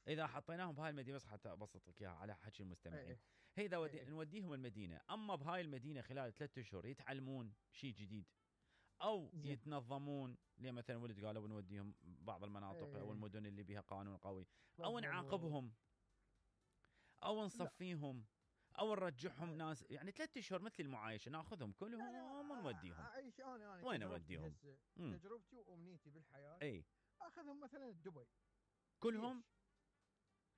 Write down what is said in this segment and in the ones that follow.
اذا حطيناهم بهاي المدينه بس حتى ابسطك اياها على حكي المستمعين. إيه. هي اذا نوديهم المدينه، اما بهاي المدينه خلال 3 اشهر يتعلمون شيء جديد او زين. يتنظمون، ليه مثلا ولد قالوا نوديهم بعض المناطق او المدن اللي بها قانون قوي، او نعاقبهم او نصفيهم او نرجعهم ناس، يعني 3 اشهر مثل المعايشه ناخذهم كلهم ونوديهم. اعيش انا وين اوديهم؟ تجربتي وامنيتي بالحياه اي اخذهم مثلا دبي كلهم.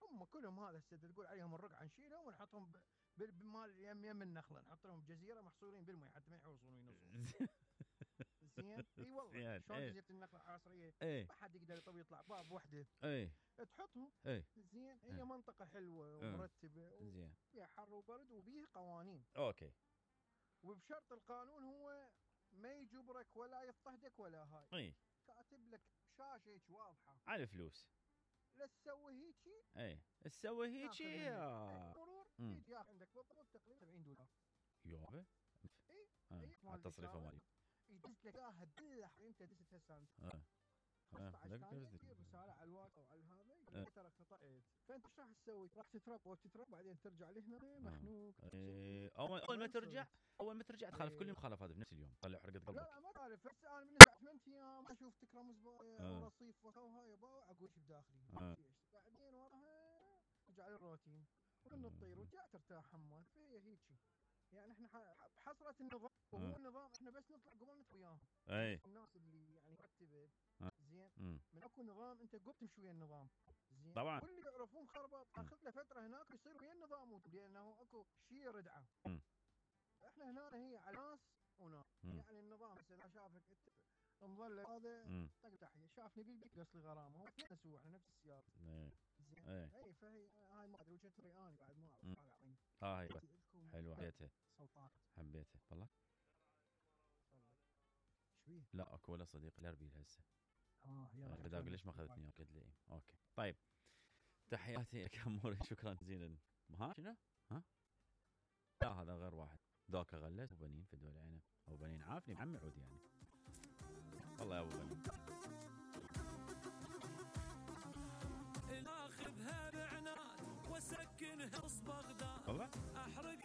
هم كلهم هذا السد تقول عليهم الرقعه نشيلهم ونحطهم بمال يم النخله، نحط لهم جزيره محصورين بالمي حتى ما يحوصون وينصون. زين اي والله شلون جزيره النخله العصريه ما حد يقدر يطلع باب وحده تحطهم. زين هي منطقه حلوه ومرتبه زين فيها حر وبرد وبيها قوانين. اوكي. وبشرط القانون هو ما يجبرك ولا يضطهدك ولا هاي. كاتب لك شاشه هيك واضحه على الفلوس لا تسوي هيجي. تسوي هيجي يا مرور يجي عندك بالضبط تقريبا $70 يابا. التصريف مالي يدز لك اياها تدلح انت دزت هسه 15 ثانيه رساله على الواتس او على هذا ترى خطأت. فانت ايش راح تسوي؟ راح تترب بعدين ترجع لهنا مخنوق. اول ما ترجع تخالف كل المخالفات بنفس اليوم طلع حرقه قلبك. لا ما تعرف بس انا من 8 ايام اشوف تكرم زباله ورصيف وهاي اقول ايش بداخلي. بعدين وراها ترجع للروتين ونطير وترجع ترتاح حماد. فهي هيك يعني احنا بحصره النظام وهو النظام احنا بس نطلع قبل نتوي وياهم. الناس اللي يعني مرتبه زين من اكو نظام انت قبل تمشي ويا النظام. زين طبعا واللي يعرفون خربط اخذ له فتره هناك يصير ويا النظام لانه اكو شيء ردعه. احنا هنا هي على ناس وناس يعني النظام اذا شافك مظل هذا طق تحيه شافني بالبيت قص لي غرامه هو نسوي احنا نفس السياره. زين اي فهي هاي ما ادري وجهه نظري انا بعد ما اعرف اعطيني. هاي حلوه حبيتها حبيتها والله. شويه لا اكو ولا صديق الاربيل هسه. يلا بدي اقول ليش ما اخذتني قلت لي اوكي. طيب تحياتي لك اموري شكرا جزيلا. ها شنو؟ لا هذا غير واحد ذاك غلس وبنين في دول عينه او بنين عافني عمي عود يعني. والله يا ابو بنين ناخذها بعناد وسكنها بغداد والله احرق